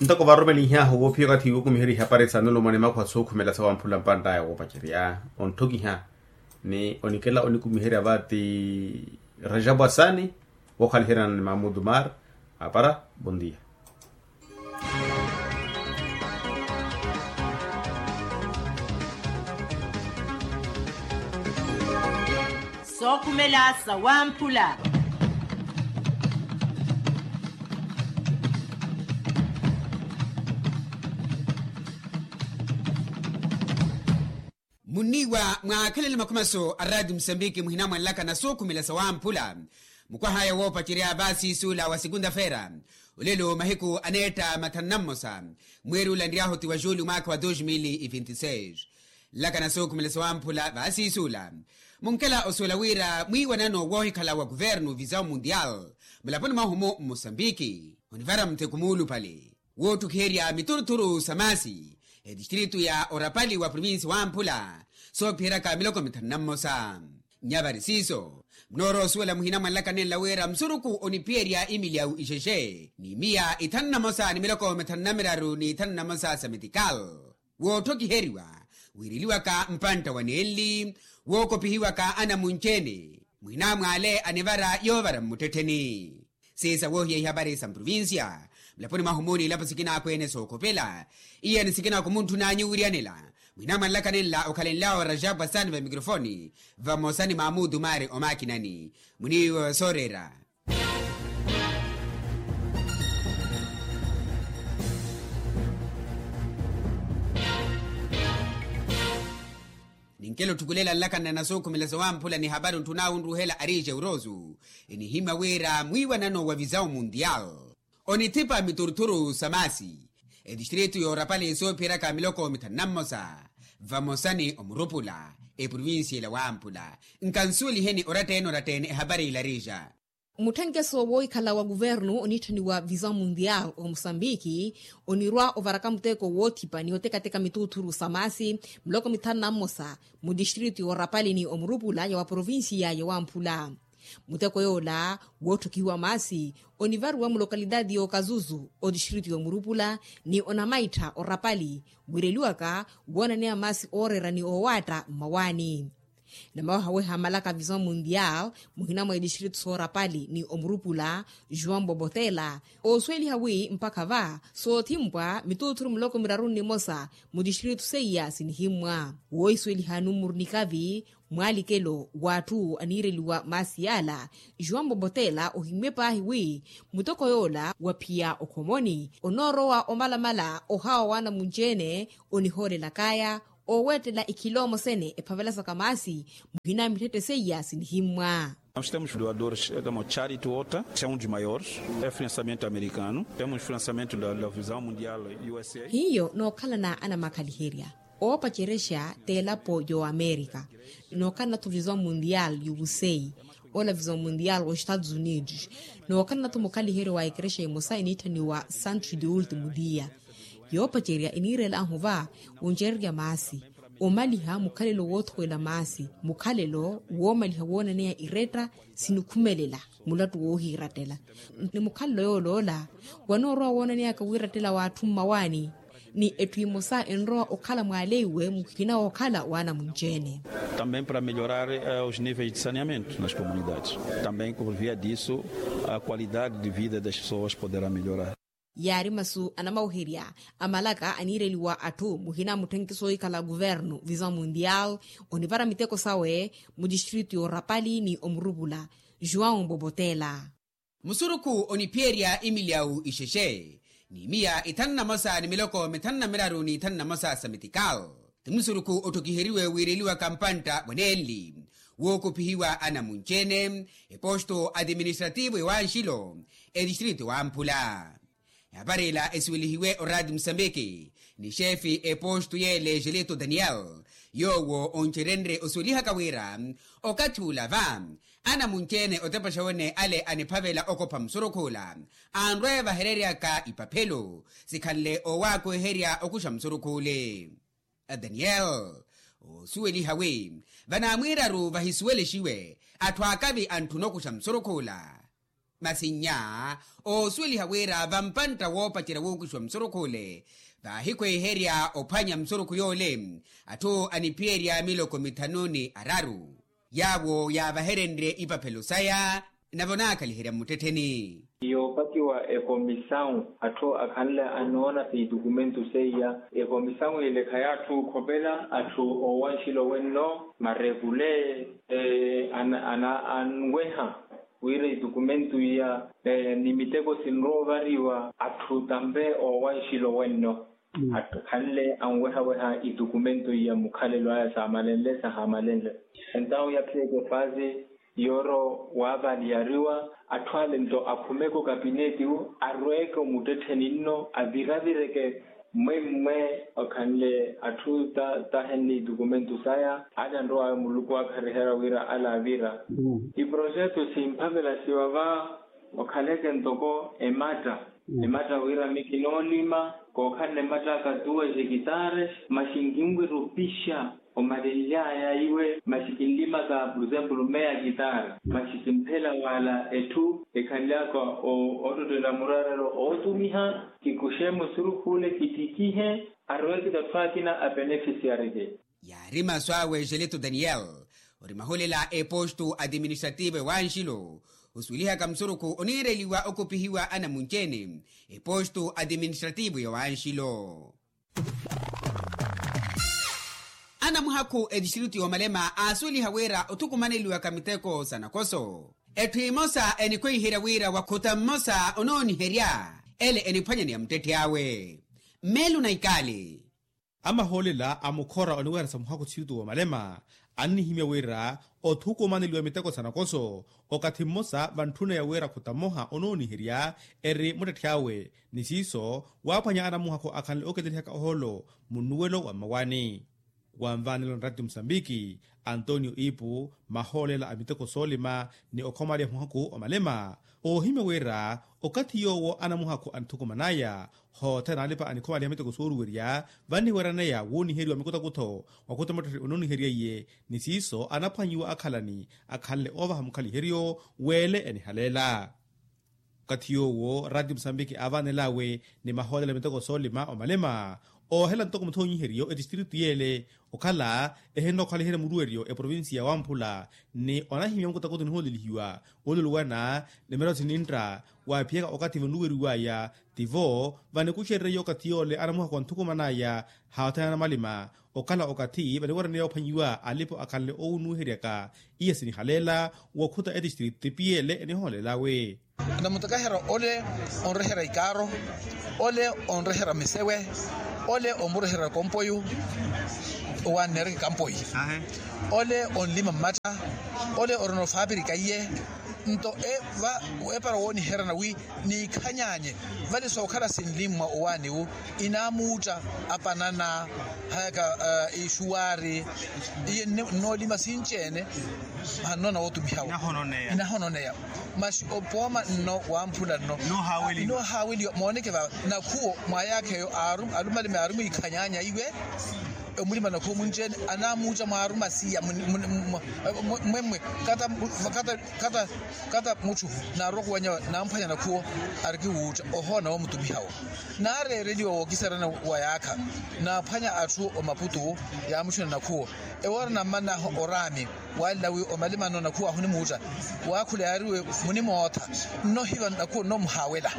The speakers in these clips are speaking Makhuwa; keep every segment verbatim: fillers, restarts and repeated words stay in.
Ntoko varumelinhyahu woophiya okathi wokumiherya ihapari sa nulumwa ni makhuwa sookhumela sawamphula mpantt'aya woopacerya ontthokiha ni onikela onikumiherya vaati rajabu asani. Wookhaliheryana ni mamudu mar apara. Bondia. Sookhumela sawamphula. Munniiwa mwaakhelele makhumaso a raati musambiki muhina mwanlaka na sookhumela sawamphula. Mukwahaya woopacerya vaasiisuula wa sekunta-feera olelo mahiku aneetta mathanu na mmosa mweeri ula nryahu ti wa juuli mwaakha wa dos mil e vinte e seis. Nlaka na sookhumela sawamphula vaasiisuula munkela osuwela wira mwiiwanano woohikhala wa kuvernu visao mundial mulaponi mwahu-mu mmosambiki onivara muteko muulupale woottukiherya mituruthuru sa maasi etistritu ya orapali wa provinsi wamphula soophiheryaka miloko mithanu na mmosa. Nyavari siiso munoorowa osuwela muhina mwanlaka nenla wira musurukhu oniphiyerya imilyawu ixexe ni miya ithanu na mosa ni miloko mithanu na miraru ni ithanu na mosa sa metikal wootthokhiheriwa wiireliwaka mpantta wa nenli wookopihiwaka anamunci-ene muhina mwaale anivara yoovara mmuttettheni. Siisa woohiya ihapari sa mprovincia mulaponi mwahu-mu niilapo sikina akweene sookhopela iya ni sikina kumuntthunanyu wiryanela muhina mwanlaka nenla okhalenlyawo rajabu asani va mikrofoni vamosa ni mamudu mari omakinani muniiwe sooreera. Ninkela otthukulela nlakanna na sookhumela sawamphula ni hapari ontthunaawe onruhela arije urosu enihimya wira mwiiwanano wa visao mundial onithipa mituruthuru sa maasi etistritu yoorapali soophiyeryaka miloko mithanu na mmosa vamosa ni omurupula eprovincia ila wamphula. Nkansuweliheni oratta-ene oratta-ene ehapari ila arija. Mutthenkeso woohikhala wa kuvernu oniitthaniwa visao mundial omosambiki onirwa ovaraka muteko woothipa ni otekateka mituruthuru sa maasi miloko mithanu na mmosa mutistritu yoorapali ni omurupula ya wa provincia ya wamphula. Muteko yoola wootthokihiwa maasi onivariwa mulokalitaati y'okazuzu otistritu y'omurupula ni onamaittha orapali wiireliwaka woonaneya maasi ooreera ni oowaatta mmawaani. Namawehaweha malaka visao mundial muhina mwa etistritu soorapali ni omurupula juan bobotela oosuweliha wi mpakha va soothimpwa mituruthuru miloko miraru ni mmosa mutistritu seiya sinihimmwa woohisuweliha numuru nikavi mwaalikelo w'atthu aniireliwa maasi yaala. Juan bobotela ohimmye paahi wi muteko yoola wa phiya okhomoni onoorowa omalamala ohawa w'anamunci-ene onihoolelakaya oowettela ikhiloomo sene ephavelasaka maasi muhina mitthette seiya sinihimmwa. Nós temos doadores como charity water, é um dos maiores, é financiamento americano, temos financiamento da visao mundial usa. Hiyo nookhalana anamakhaliherya oopacerexa t'elapo y'oamerika nookhalana-tho visao mundial y'usa ola visao mundial w'estados unidos nookhalana-tho mukhaliheryo wa ekerexa emosa eniitthaniwa santos de ultimo dia. Yoopacerya eniireel'ahu va woncererya maasi omaliha mukhalelo woothowela maasi mukhalelo woomaliha woonaneya iretta sinikhumelela mulattu woohiirattela ni mukhalelo yooloola wanoorowa woonaneyaka wiirattela w'atthu mmawaani ni etthu emosa enrowa okhala mwaaleiwe muhina wookhala w'anamunci-ene. Também para melhorar os níveis de saneamento nas comunidades também por via disso a qualidade de vida das pessoas poderá melhorar. Yaari masu anamaweherya a malaka aniireliwa atthu muhina mutthenkiso ohikhala kuvernu visao mundial onivara miteko sawe mutistritu y'orapali ni omurupula juan bobotela. Musurukhu oniphiyerya imilyawu ixexe ni miya ithanu na mosa ni miloko mithanu na miraru ni ithanu na mosa sa metikal ti musurukhu otthokiheriwe wiireliwaka mpantta wa nenli wookopihiwa anamunci-ene eposto atiministrativo ewanxilo etistritu wamphula. Ehapari ila esuwelihiwe oraati musambiki ni xeefi epostu yeele gelito daniel yoowo oncerenrye osuwelihaka wira okathi ula va anamunci-ene otepaxa wene ale aniphavela okopha musurukhu ula anrwa evahereryaka ipaphelo sikhanle oowaakuweherya okuxa musurukhu ule. Daniel oosuweliha wi vanaamwiiraru vahisuwelexiwe atthu akavi antthuna okuxa musurukhu ula. Masi nnya oosuweliha wira vampantta woopacerya wuukuxiwa musurukhu ole, vaahikhweherya ophwanya musurukhu yoole atthu aniphiyerya miloko mithanu ni araru. Yaawo yaavaherenrye ipaphelo saya navo naakhaliherya mmuttettheni. Yoopakiwa ekomisawu atthu akhanle anoona siitukumentu seiya. Ekomisawu yele khayaatthu okhopela atthu oowanxilo wenno marepule anweha wira itukumentu iya ni miteko sinrowa ovariwa atthu tampe oowanxilo wenno atthu khanle anwehaweha itukumentu iya mukhalelo aya saamalenle sahaamalenle. Entawu yaphiyeeke faasi yooro waavaliyariwa atthu ale nto akhumeke okapineti wu arweeke omuttettheni nno aviravireke mmwemmwe okhanle atthu tahenle itukumentu saya ale anrowaya muluku waakhariherya wira ale avira. Iprojetu simphavela siwava okhaleke ntoko ematta ematta wira mi kinoolima kookhalana ematta aka tuwa exekitare maxi nkinwira opixa omalenly'aya iwe maxi kinlimaka por exemplo meya kitare maxi kimphela wala etthu ekhanlyaka ottottela murarelo ootumiha kikuxe musurukhule kittikihe arowekita atthu akina apenefisiarike. Yaari masu awe exelito daniel ori mahulela epostu adiministrativo ewanxilo osuwelihaka musurukhu oniireliwa okupihiwa anamunci-ene epostu adiministrativo ya wanxilo. Anamuhakhu etistritu y'omalema aasuweliha wira othukumaneliwaka miteko sa nakoso etthu emosa enikhweiherya wira wakhuta mmosa onooniherya ele eniphwanyaniya muttetthi awe. Mmeelo na ikaali. Amahoolela a mukhora oniweherya sa muhakhu tsirutu w'omalema annihimya wira othukumaneliwa miteko sa nakoso okathi mmosa vantthuna ya wira khuta mmoha onooniherya eri muttetthi awe ni siiso waaphwanya anamuhakhu akhanle ooketelihaka ohoolo munnuwelo wa mmawani. Wanvaanela nratti musambiki antonio ipu mahoolela a miteko soolima ni okhomaliha muhakhu omalema oohimya wira okathi yoowo anamuhakhu anthukumanaya hoothe naalipa anikhomaliha miteko sooruwerya vanniweeraneya wuuniheriwa mikutakutho wakhuta muttetthe onooniherya iye ni siiso anaphwanyiwa akhalani akhanle oovaha mukhaliheryo weele enihaleela. Okathi yoowo ratio musambiki aavanel'awe ni mahoolela miteko soolima omalema oohela ntoko muthoonyiheriyo etistritu yeele okhala ehinnokhaliherya muruweryo eprovincia ya wamphula ni onahimya mukutakuti nihoolelihiwa oluluwana ni miratho sinintta waaphiyaka okathi vanluweriw'aya tivo vanikuxererye okathi yoole anamuhakhu anthukuman'aya haathanana malima okhala okathi vaniweeraneya ophwanyiwa alipo akhanle owunuweheryaka iya sinihaleela wokhuta etistritu tipiyeele enihoolel'awe. Namutakaherya ole onreherya ikaaro ole onreherya misewe ole omureherya kompoyu owanneereke kampoyi ole onlima mmatta ole orina ofaapirika iye nto epara wooniheryana wi niikhanyanye vale sookhala sinlimmwa owaani wu inaamuutta apanana hayaka ixuwaari iye nnoolima sinci-ene. Hannoona wootumihawa inahononeya masi opooma nno wamphula nno inoohaaweliwa mooneke vava nakhuwo mwayaakha eyo alumalime aari mwiikhanyanya iwe omulima nakhuwo mwinci-ene anaamuutta mwaaruma siya mmwemmwe kata kata mutthu naarwa khuwanya namphwanya nakhuwo arikiwuutta ohoona woomutumihawo naareereliwa wookisarana wa yaakha naaphwanya atthu omaputu yaamuttuna nakhuwo ewoora nammanahu oraami waalla wi omalimano nakhuwo ahunimuutta waakhula yaariwe munimootha nnohiva nakhuwo nnomuhaawela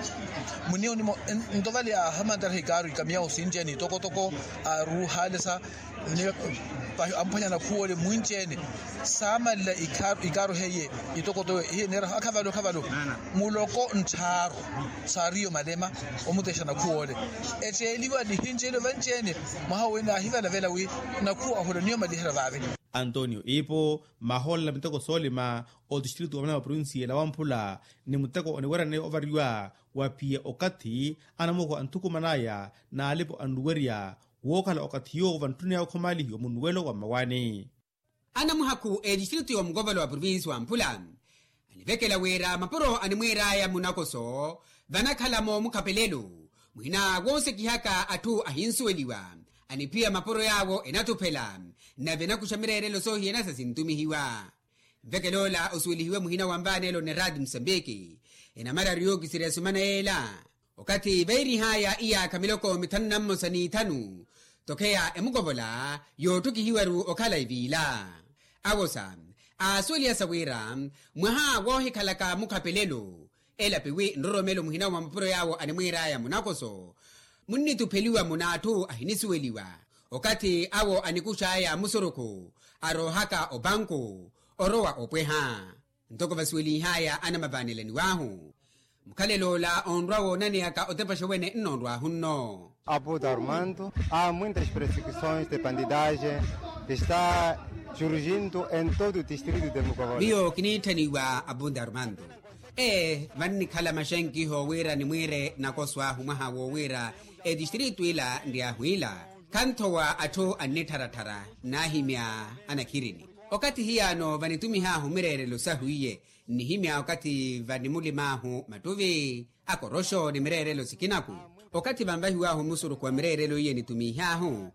muniyo nimo nto vale aahamantaraha ikaaru ikamiyawo sinci-ene itokotoko aaruuhaalesa amphwanya nakhuwole mwinci-ene saamanle ikaaru heiye itokotowe iye neeraha akhavalo akhavalo muloko nttharu saariyo malema omutexa nakhuwole etteeliwa nihinci-ene vanci-ene mwaha owe naahivalavela wi nakhuwo ahula niyo maliherya vaave. Antonio ipo mahoolela miteko soolima otistritu wa malema provincia ela wamphula ni muteko oniweryaneya ovariwa wa piya okathi anamuhakhu anthukuman'aya n'alipo anluwerya wookhala okathi yoowo vantthun'aya okhomaalihiwa munnuwelo wa mmawaani. Anamuhakhu etistritu y'omukovolo wa provincia wa mphula anivekela wira mapuro animwiir'aya munakoso vanakhala moomukhapelelo mwina woosekihaka atthu ahinsuweliwa aniphiya mapuro yaawo enatuphela nave enakuxa mireerelo soohiyana sasintumihiwa. Nvekelo ola osuwelihiwe muhina wa nvaanelo ni raati musambiki, enamararu yookisirya esumana yeela. Okathi veerihaya iyaakha miloko mithanu na mmosa n'ithanu, tokheya emukovola yootthukihiwaru okhala eviila. Awosa aasuweliha sa wira mwaha woohikhalaka mukhapelelo, elapiwi nroromelo muhina wa mapuro yaawo animwiiraya munakoso, munnitupheliwa mun'atthu ahinisuweliwa. Okathi awo anikuxaya musurukhu, aroohaka opanku orowa opweha. Ntoko vasuwelihaya anamavaanelaniwahu, mukhalelo ola onrwa woonaneyaka otepaxa wene nnoonrwahu nno. Aputa armando, a muitas persecuções de bandidagem que está surgindo em todo o distrito de mukovola. Miyo kiniitthaniwa apunta armando. Ee, vannikhala maxankiho wira nimwiire nakoso ahu mwaha woowira etistrito ila nryahu ila, khanthowa atthu annittharatthara, naahimya anakhirini. Okathi hiyaano vanitumihaahu mireerelo sahu iye, nnihimya okathi vanimulimaahu mattuvi akoroxo ni mireerelo sikinaku. Okathi vanvahiwaahu musurukhu wa mireerelo iye nitumihaahu,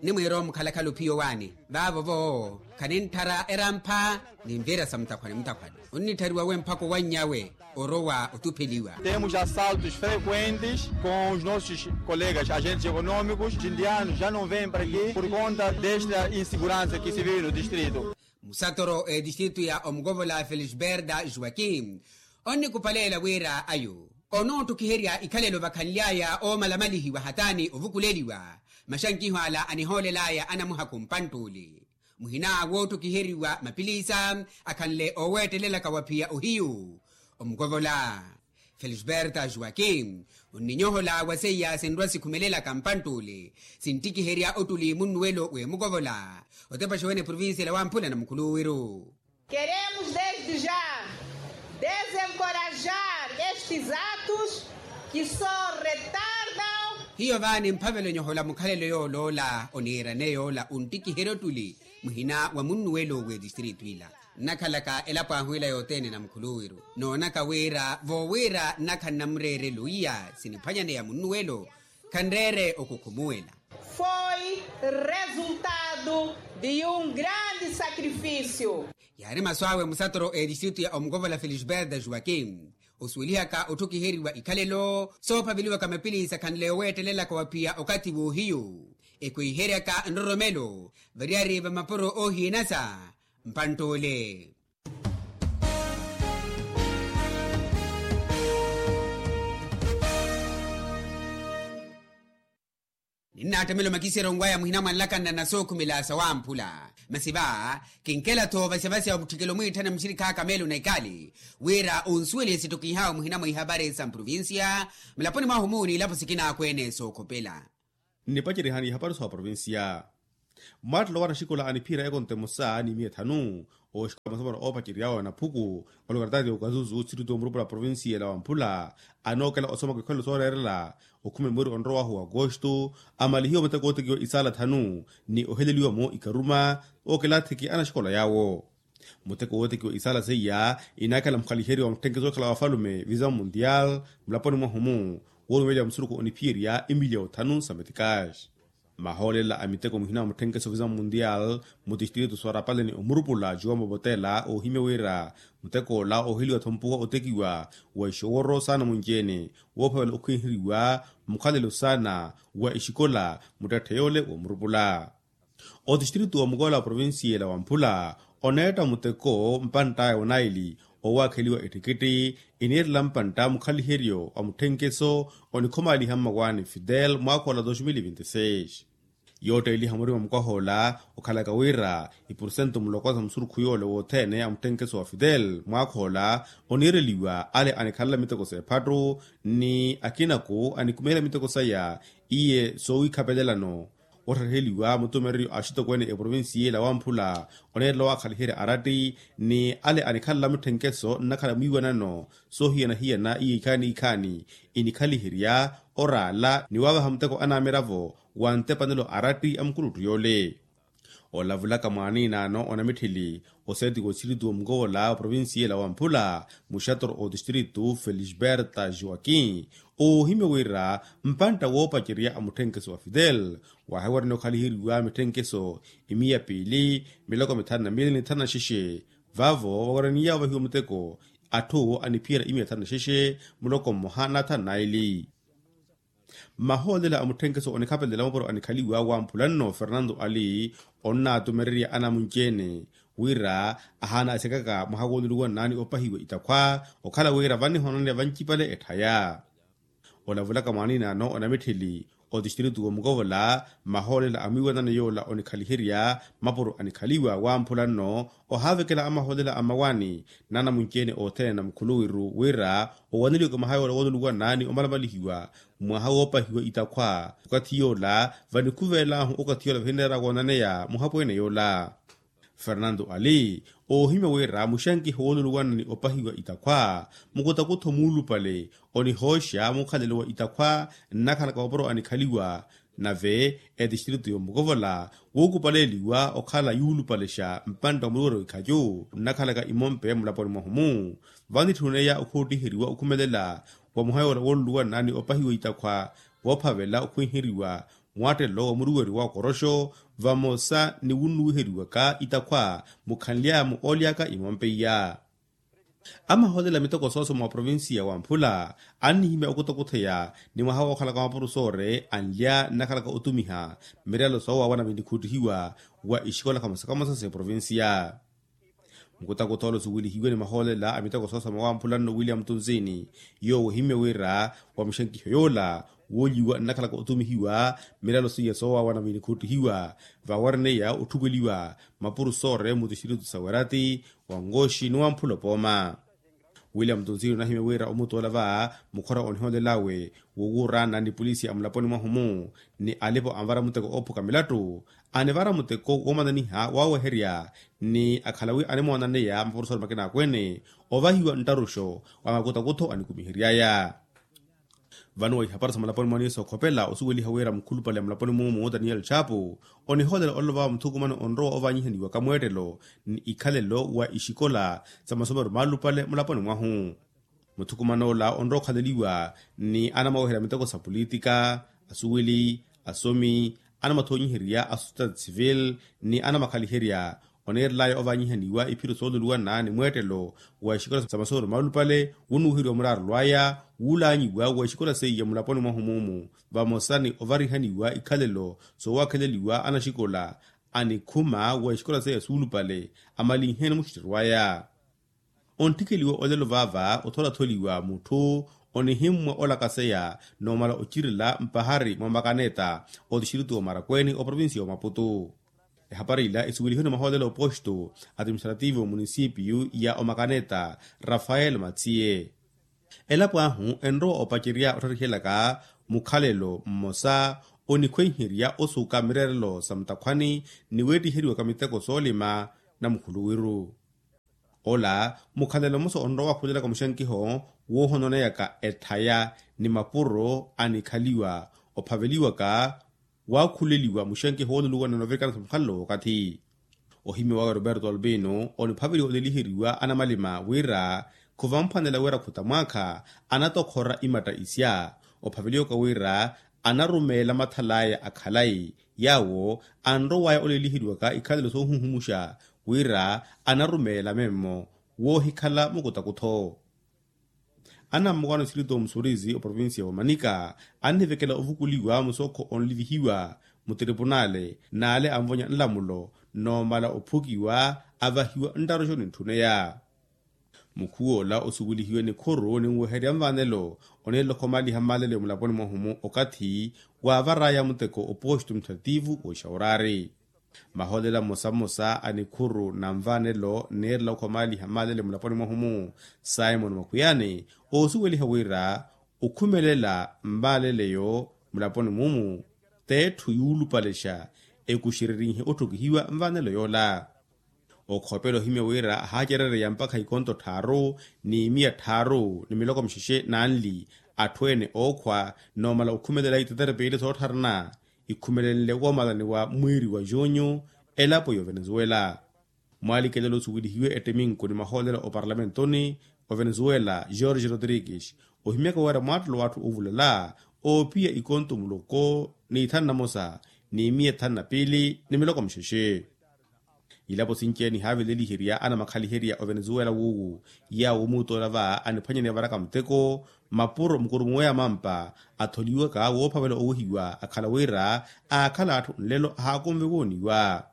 nimwiira omukhalakhala ophiya owaani vaavo-vo khanintthara erampha. Ninviira sa mutakhwani mutakhwani, onnitthariwa we mphaka owannya we orowa otupheliwa. Temos assaltos frequentes com os nossos colegas agentes econômicos, os indianos já não vêm para aqui por conta desta insegurança que se vive no distrito. Musatoro etistrito ya omukovola felisberta joaquim, onnikuphaleela wira ayo onoottukiherya ikhalelo vakhanly'aya oomalamalihiwa hataani ovukuleliwa. Maxankiho ala anihoolel'aya anamuhakhu mpantt'ule, muhina woottokiheriwa mapilisa akhanle ooweettelelaka wa phiya ohiyu. Omukovola felisberta joaquim onninyohola wa seiya sinrwa sikhumelelaka mpantt'ule, sinttikiherya ottuli munnuwelo w'emukovola otepaxa wene provincia ela wamphula na mukhuluwiru. Queremos desde já desencorajar estes atos que só retardam. Hiyo vaani mphavelo nyohola mukhalelo yooloola oniirane yoola unttikiherya ottuli muhina wa munnuwelo w'etistrito ila. Nnakhalaka elapo ahu ila yothene na mukhuluwiru, noonaka wira voowira nnakhala namureerelo iya siniphwanyaneya munnuwelo khanreere okukhumuwela. Foi resultado de um grande sacrifício. Yaari masu awe musatoro etistrito ya omukovola felisberta joaquim, osuwelihaka otthukiheriwa ikhalelo soophaveliwaka mapilisa khanle oweettelelaka wa phiya okathi w'ohiyu, ekwiheryaka nroromelo variyari va mapuro oohiyanasa mpantt'ule. Ninnaattamela omakiseryo nwaya muhina mwa nlakanna na sookhumela sawamphula. Masi va kinkela-tho vasivasi omutthikelo mwiitthana muxirikhi aka meelo na ikali, wira onsuwelihe sittokihawe muhina mwa ihavari sa mprovincia mulaponi mwahu muuni ilapo sikina akweene sookhopela. Nnipacerihani ihapari sowa provincia. Mwattelo wa naxikola aniphiyerya ekonto emosa ni miya ethanu, ooxikola masomero oopaceryawe na phuku, olokartati ya okazuzu sittutu omurupula provincia ela wamphula, anookela osomaka ikhwelo sooreerela okhumela mweri onrowahu wa agosto, amalihiwe muteko wootekiwa isaala thanu ni oheleliwa-mo ikaruma ookelathiki a naxikola yaawo. Muteko wootekiwa isaala seiya inaakhala mukhaliheriwa wa mutthenkeso okhala wa afalume visa mundial mulaponi mwahu-mu, woorumeliwa musurukhu oniphiyerya imiliya othanu sa metikaxi. Mahoolela a miteko muhina wa mutthenkeso visa mundial mutistrito soorapale ni omurupula juwa mopotela oohimya wira muteko ola ooheliwa-tho mpuwa otekiwa wa ixoworo saana munci-ene woophavela okhwiheriwa mukhalelo saana wa ixikola muttetthe yoole womurupula. Otistrito wa mukola wa provincia ela wamphula oneetta muteko mpantt'aya onaili owaakheliwa ettikitti iniirela mpantta mukhaliheryo wa mutthenkeso onikhomaaliha mmawaani fidel mwaakha ola dos mil vinti seis. Yootteeliha murima mukwaha ola okhalaka wira ipursentu muloko sa musurukhu yoole wothene a mutthenkeso wa fidel mwaakha ola oniireliwa ale anikhalela miteko s'ephattu ni akinaku anikumeherya miteko saya iye soowikhapelelano. Otthaheliwa mutumereryo a axitokweene eprovincia ela wamphula oneerela owaakhaliherya aratti ni ale anikhalela mutthenkeso nnakhala mwiiwanano soohiyana-hiyana iye ikhaani-ikhaani inikhaliherya oraala ni waavaha muteko anamiravo wa ntepanelo aratti a mukuluttu yoole. Olavulaka mwaaniinaano onamitthili oseeti w'otistrito wa mukovola oprovincia ela wamphula muxatoro otistrito felisberta joaquim oohimya wira mpantta woopacerya a mutthenkeso wa fidel waahiwara ni okhaliheriwa mitthenkeso imiya piili miloko mithanu na miili ni thanu na xexe Vaavo vaweraniya ovahiwa muteko atthu aniphiyerya imiya thanu na xexe, muloko mmoha na thanu na eli. Mmahoolela a mutthenkeso onikhapelela mapuro anikhaliwa wamphula nno fernanto ali, onnaatumererya anamunci-ene wira ahaana asekaka mwaha wooluluwanani opahiwa itakhwa, okhala wira vanihoonaneya vancipale etthaya. Olavulaka mwaninano onamitthili otistiritu womukovola, mmahoolela a mwiiwanano yoola onikhaliherya mapuro anikhaliwa wamphula nno, ohaavekela amahoolela a mmawaani n'anamunci-ene othene na mukhuluwiru wira owaneliwaka mwaha yoola wooluluwanani omalamalihiwa mwaha woopahiwa itakhwa. Okathi yoola vanikhuveel'ahu okathi yoola vahineera woonaneya muhapweene yoola. Fernanto ali, oohimya wira muxankiho wooluluwanani opahiwa itakhwa, mukutakutho muulupale onihooxa mukhalelo wa itakhwa nnakhalaka mapuro anikhaliwa, nave etistiritu yomukovola wuukupaleeliwa okhala yuulupalexa mpantta wa muluwelo wikhacu nnakhalaka imompe mulaponi mwahu-mu. Vanitthuniya okhuuttiheriwa okhumelela wa muhayoola wooluluwanani opahiwa itakhwa, voophavela okhwinheriwa mwaattelo wa muruweri wa okoroxo, vamosa ni wunnuwiheriwaka itakhwa mukhanly'aya-mu ooly'aka imompe iya. Amahoolela a miteko soosoma wa provincia wamphula annihimya okutakutheya ni mwaha wookhalaka mapuro soore anlya nnakhalaka otumiha mirelo soowawana vinikhuuttihiwa wa ixikola kamosa kamosa s'eprovincia. Mukutakutha ola osuwelihiwe ni mahoolela a miteko soosoma wamphula nno william tunzini, yoowo ohimya wira wa muxankiho yoola woolyiwa nnakhalaka otumihiwa mirelo seiya soowawana vinikhuuttihiwa, vawareneya otthukweliwa mapuro soore mutistiritu sa werati, wa nkoxi ni wamphula opooma. William tunzini onahimya wira omutoola va mukhora onihoolel'awe wowuurana ni pulisi a mulaponi mwahu-mu ni alipo anvara muteko oophuka milattu, anivara muteko woomananiha waaweherya ni akhala wi animoonananeya mapuro soore makina akweene ovahiwa nttaruxo wa makutakutho anikumihery'aya. Vano wa ihapari sa mulaponi mwaniisa okhopela osuweliha wira mukhulupale mulaponi mumu daniel chapu onihoolela olova muthukumano onrowa ovanyihaniwaka mweettelo ni ikhalelo wa ixikola sa masomero maalupale mulaponi mwahu. Muthukuman'ola onrowa okhaleliwa ni anamaweherya miteko sa pulitika, asuweli, asomi, anamathonyiherya a societati civil ni anamakhaliherya oneerelaya ovanyihaniwa iphiro sooluluwana ni mweettelo wa ixikola sa masomero maalupale wunnuwiheriwa muraarulw'aya wuulaanyiwa wa ixikola seiya mulaponi mwahu mumu, vamosa ni ovarihaniwa ikhalelo soowakheleliwa anaxikola anikhuma wa ixikola seiya suulupale amalinheene muxitterw'aya. Ontthikeliwa olelo vaava otholatholiwa mutthu onihimmwa olakaseya noomala ocirela mpahari mwa makaneta otixiriti wa marakweeni oprovincia wa maputu. Ehapari ila esuwelihiwe ni mahoolelo a oposto atiministrativu a munisipio ya omakaneta rafael matsiye. Elapo ahu enrowa opacerya ottharihelaka mukhalelo mmosa onikhwenherya osuka mireerelo sa mutakhwani ni weettiheriwaka miteko soolima na mukhuluwiru. Ola mukhalelo mmosa onrowa wakhulelaka muxankiho woohononeyaka ethaya ni mapuro anikhaliwa ophaveliwaka waakhuleliwa muxankiho wooluluwana novirikana sa mukhalelo wookathi. Ohimya waka roberto albino oniphaveliwa oleliheriwa anamalima wira khuvamphwanela wira khuta mwaakha anatokhora imatta isya ophaveliwaka wira anarumeela mathal'aya a khalayi yaawo anrow'aya oleliheriwaka ikhalelo soohuhumuxa wira anarumeela memmo woohikhala mukutakutho. Anammukaano sirito musurizi oprovincia wa manika annivekela ovukuliwa musookho onlivihiwa mutiripunaale n'ale anvonya nlamulo noomala ophukiwa avahiwa nttaruxo nintthuneya. Mukhuw'ola osuwelihiwe nikhuru ninweherya nvanelo oneerela okhomaliha mmaleleyo mulaponi mwahu-mu okathi waavar'aya muteko oposto administrativu w'oxawuraari. Maholela mmosa mmosa a nikhuru na nvanelo neerela okhomaliha mmaleleyo mulaponi mwahu-mu simon makhwiyani oosuweliha wira okhumelela mmaleleyo mulaponi mumu t'etthu yuulupalexa ekuxererinhe otthukihiwa nvanelo yoola. Okhopela ohimya wira ahaacerereya mpakha ikonto tthaaru ni miya tthaaru ni miloko mixexe n'anli atthu ene ookhwa noomala okhumelela itetere piili sootthara na ikhumelenle woomalaniwa mwiiri wa junyu elapo y'ovenezuela. Mwaalikelela osuwelihiwe ettiminku ni mahoolela oparlamentoni ovenezuela george rodrigues ohimyaka wira mwaattelo w'atthu oovulala oophiya ikonto muloko ni ithanu na mosa ni miya ithanu na piili ni miloko mixexe. Ilapo sinci-ene nihaaveleliherya anamakhaliherya ovenezuwela wuuwu, yaawo omuutoola va aniphwanyaniya varaka muteko, mapuro mukuru muweya mampa atholiwaka woophavela owehiwa akhala wira aakhala atthu nlelo ahaakonve wooniwa.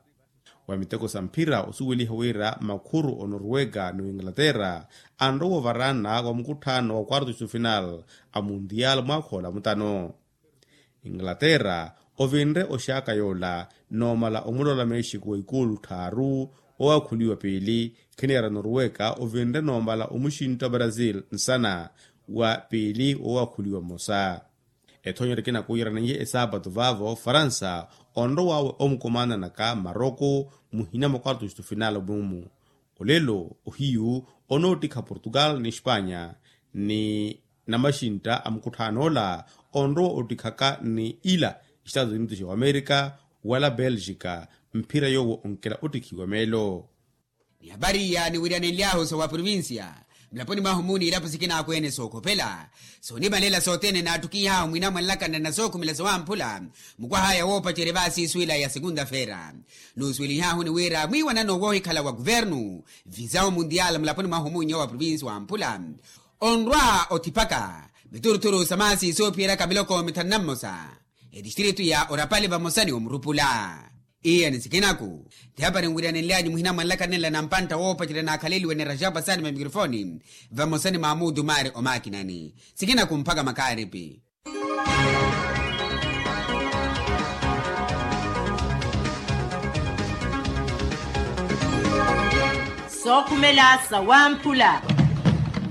Wa miteko sa mphira osuweliha wira makhuru onorwega ni oinglaterra anrowa ovaraana wa mukutthaano wa quarto de final a mundial mwaakha ola mutano. Inglaterra ovinre oxaaka yoola noomala omulola mexico wa ikuulu tthaaru, owaakhuliwa piili. Khiniyara norweka ovinre noomala omuxintta brazil nsana wa piili owaakhuliwa mmosa. Ethoonyeryo ekina kuwiraneiye esaapatu vaavo faransa onrowawe omukomananaka maroko muhina mwa quarto de final mumu. Olelo ohiyu onoottikha portugal ni espanya ni namaxintta a mukutthaan'ola onrowa ottikhaka ni ila estados unidos wa amerika wala belgica mphira yoowo onkela ottikhiwa meelo. Ni hapari iya niwiryanenly'ahu sa wa provincia mulaponi mwahu muuni ilapo sikina akweene sookhopela soonimalela sothene naattukiih'ahu mwinamwanlakana na sookhumela sawamphula mukwah'aya woopacerya vaasiiswila ya segunda feira. Nuusuwelih'ahu ni wira mwiiwanano woohikhala wa kuvernu visawo mundial mulaponi mwahu muuni wa provincia wamphula onrwa otthipaka mituruthuru sa maasi soophiyeraka miloko mithanu na mmosa etistritu ya orapali vamosa ni omurupula. Iye ni sikinaku ti hapari nwiryanenly'anyu muhina mwanlakanenla na mpantta woopacerya naakhaleliwe ni rajapa sani va mikrofoni vamosa ni maamuudu maari omaakinani. Sikinaku mpakha makaaripi. Sookhumela sawamphula.